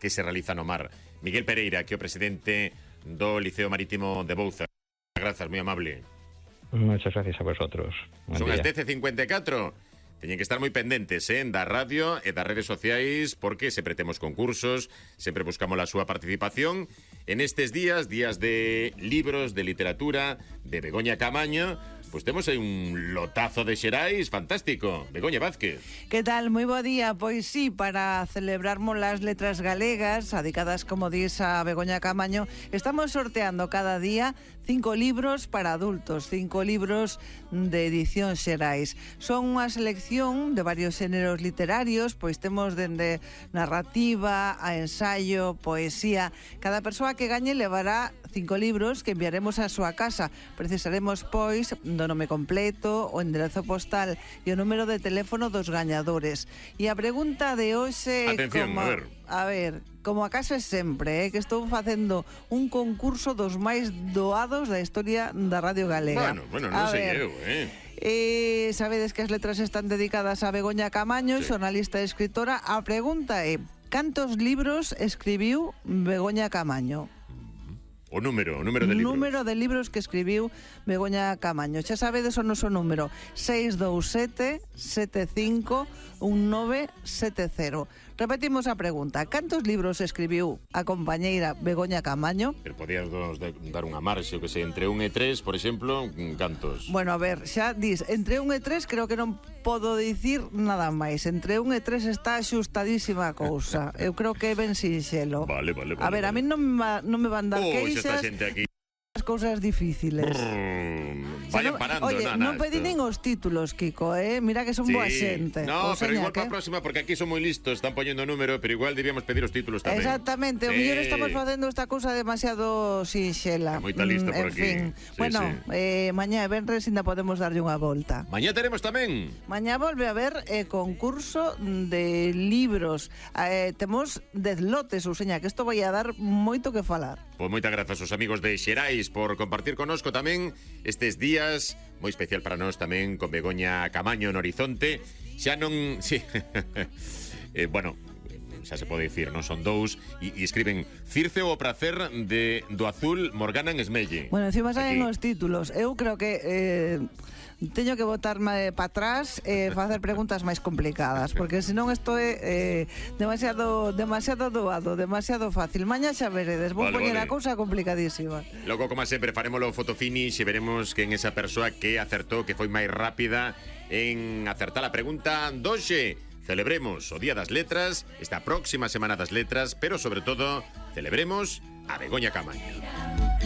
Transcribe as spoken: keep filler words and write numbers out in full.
que se realiza no mar. Miguel Pereira, que é o presidente do Liceo Marítimo de Bouza. Grazas, moi amable. Muchas gracias a vosotros. Buen Son día. as dez e cincuenta e catro. Teñen que estar moi pendentes, eh, da radio e das redes sociais, porque sempre temos concursos, sempre buscamos a súa participación. En estes días, días de libros, de literatura, de Begoña Camaño, pois temos aí un lotazo de xerais fantástico. Begoña Vázquez. Que tal? Moi bo día. Pois sí, para celebrarmos las letras galegas, dedicadas, como dis, a Begoña Camaño, estamos sorteando cada día cinco libros para adultos, cinco libros de edición xerais. Son unha selección de varios xéneros literarios, pois temos dende narrativa a ensayo, poesía. Cada persoa que gañe levará cinco libros que enviaremos a súa casa. Precisaremos, pois, do nome completo, o enderezo postal e o número de teléfono dos gañadores. E a pregunta de hoxe... Atención, como, a ver. A ver, como a casa é sempre, eh, que estou facendo un concurso dos máis doados da historia da Radio Galega. Bueno, bueno, non a sei ver, eu, eh. Eh, sabedes que as letras están dedicadas a Begoña Camaño, Sí. xornalista e escritora. A pregunta é: cantos libros escribiu Begoña Camaño? O número, o número de libros. Número de libros que escribiu Begoña Camaño. Xa sabedes o noso número: seis dous sete, sete cinco, un nove sete cero. Repetimos a pregunta: cantos libros escribiu a compañeira Begoña Camaño? Pero podías dos de, dar unha marxe, o que sei, entre un e tres, por exemplo, cantos? Bueno, a ver, xa dis, entre un e tres creo que non podo dicir nada máis. Entre un e tres está axustadísima a cousa. Eu creo que é ben sinxelo. Vale, vale, vale. A ver, a vale. mí non me, va- non me van dar Oh, xa queixas está xente aquí. as cousas difíciles. Brrr, Xa vayan non- parando, Oye, nanas, non pedí nin os títulos, Kiko, eh? Mira que son Sí. boa xente. No, O pero seña igual para que- a próxima, porque aquí son moi listos, están poñendo número, pero igual debíamos pedir os títulos tamén. Exactamente, o Sí. mellor estamos facendo esta cousa demasiado sinxela. É moita lista Mm, por en aquí. fin. Sí, Bueno, sí. eh, mañá e venres ainda podemos darlle unha volta. Mañá teremos tamén. Mañá volve a haber eh, concurso de libros. Eh, temos dez lotes, Useña, que isto vai a dar moito que falar. Pois moitas grazas aos amigos de Xerais por compartir connosco tamén estes días, moi especial para nós tamén con Begoña Camaño no horizonte. Xa non... Sí. eh, bueno, xa se pode dicir, non son dous, e, e escriben Circe o prazer de do azul Morgana en Esmelle. Bueno, encima saen Aquí. os títulos. Eu creo que... Eh, teño que botarme para atrás e eh, facer preguntas máis complicadas, porque senón isto é eh, demasiado demasiado doado, demasiado fácil. Mañá xa veredes, vou Vale, poñer vale. a cousa complicadísima. Logo, como sempre, farémolo fotofinish e veremos quen esa persoa que acertou, que foi máis rápida en acertar a pregunta doxe. Celebremos o Día das Letras, esta próxima Semana das Letras, pero sobre todo, celebremos a Begoña Camaño.